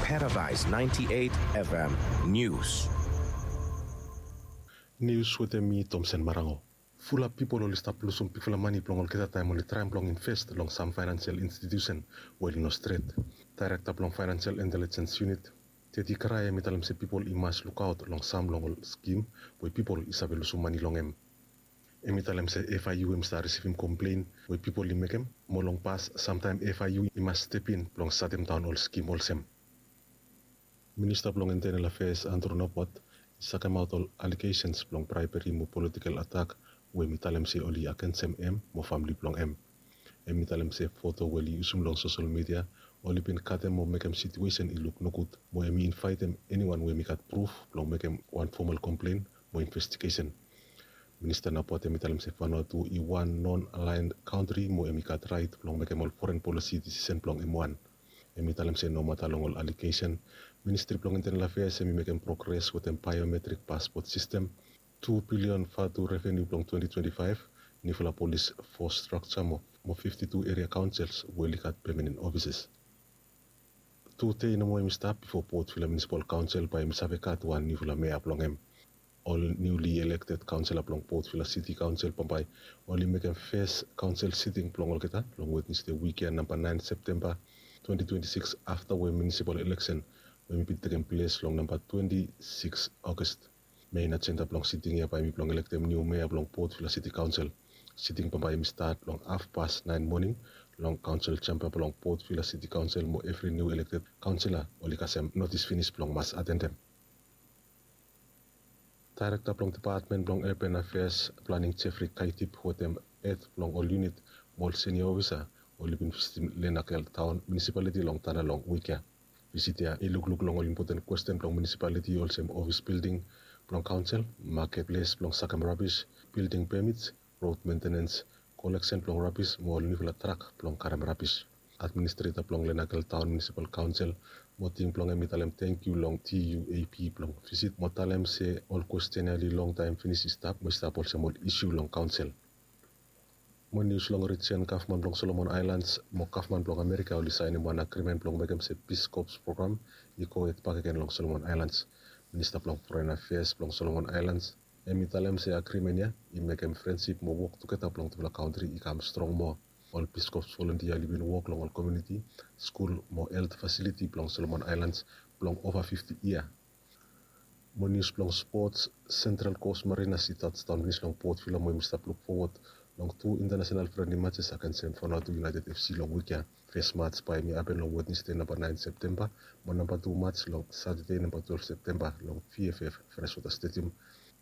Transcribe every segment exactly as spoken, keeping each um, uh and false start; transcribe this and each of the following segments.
Paradise ninety-eight F M News. Nius wetem mi, Tomsen Marango. Fulap pipol oli stap lusum bigfala mane blong olgeta taem oli traem blong invest long sam faenansial institusen we oli no stret. Daerekta blong Faenansial Intelejens Yunit, Teti Karae, hem i talem se pipol i mas lukaot long sam long ol skim we pipol i save lusum mane long hem. Hem i talem se F I U hem i stap risivim komplen we pipol i mekem, mo long pas samtaem F I U i mas stepin blong satemdaon ol skim olsem. Minista blong Internal Affairs, Andrew Napuat, i sakemaot ol alegeshens blong braeberi mo politikel atak we hem i talem se oli agensem hem mo famle blong hem. Hem i talem se foto we oli yusum long sosel midia oli bin katem mo mekem situesen i luk nogud, mo hem i invaetem eniwan we hem i gat pruf blong mekem wan fomal komplen mo investigesen. Minista Napuat hem i talem se Vanuatu i wan non-aligned kantri mo hem i gat raet blong mekem ol foren polisi disisen blong hem wan. Hem i talem se nomata long ol alegesen, Ministri blong Internal Affairs hem i mekem progres wetem biometrik paspot sistem, tu bilion vatu revenu blong twenti twenti faef, niufala polis fos strakja mo fifti tu eria kaonsels we oli gat pemanen ofises. Tu dei nomo hem i stap bifo Port Vila Munisipal Kaonsel bae hem i save gat wan niufala mea blong hem. Ol niuli elekted kaonsela blong Port Vila Siti Kaonsel bambae oli mekem fes kaonsel siting blong olgeta long Wednesde wik ya, namba naen Septemba twenti twenti sikis, afta we munisipal eleksen we hem i bin tekem ples long namba twenti sikis August. Mein ajenda blong siting ya bae hem i blong elektem niu mea blong Port Vila Siti Kaonsel. Siting bambae hem i stat long hafpas naen moning long kaonsel jamba blong Port Vila Siti Kaonsel, mo evri niu elekted kaonsela oli kasem notis finis blong mas atendem. Daerekta blong Depatmen blong Urban Affairs, Planning, Jeffrey Kaitip wetem hed blong ol yunit mo ol sinia ofisa oli bin visitim Lenakel Taon Munisipaliti long Tanna long wik ya. Visit ya i lukluk long ol impoten kwesten blong munisipaliti olsem ofis bilding blong kaonsel, maket ples blong sakem rabis, bilding pemits, rod mentenens, koleksen blong rabis mo ol niufala trak blong karem rabis. Administreta blong Lenakel Taon Munisipal Kaonsel Moting blong hem i talem tangkiu long T U A P blong visit mo talem se ol kwesten ya oli longtaem finis i stap mo i stap olsem ol isu long kaonsel. Mo nius long rijian gavman blong Solomon Aelans mo gavman blong Amerika oli saenem wan agrimen blong mekem se Peace Corps program i gohed bakegen long Solomon Aelans. Minista blong Foren Afeas blong Solomon Aelans hem i talem se agrimen ya i mekem frensip mo wok tugeta blong tufala kantri i kam strong moa. Ol Peace Corps volontia oli bin wok long ol komuniti, skul mo helt fasiliti blong Solomon Aelans blong ova fifti yia. Mo nius blong spots, Sentral Kos Marinas i tajdaon finis long Port Vila mo hem i stap luk fowod long tu intanasenal frendli majes agensem Vanuatu United F C long wik ya. Fes maj bae hem i hapen long Wednesde namba naen Septemba mo namba tu maj long Satade namba twelef Septemba long V F F Freshwater Stadium.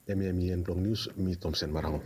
Hemia hem i en blong nius. Mi Tomsen Marango.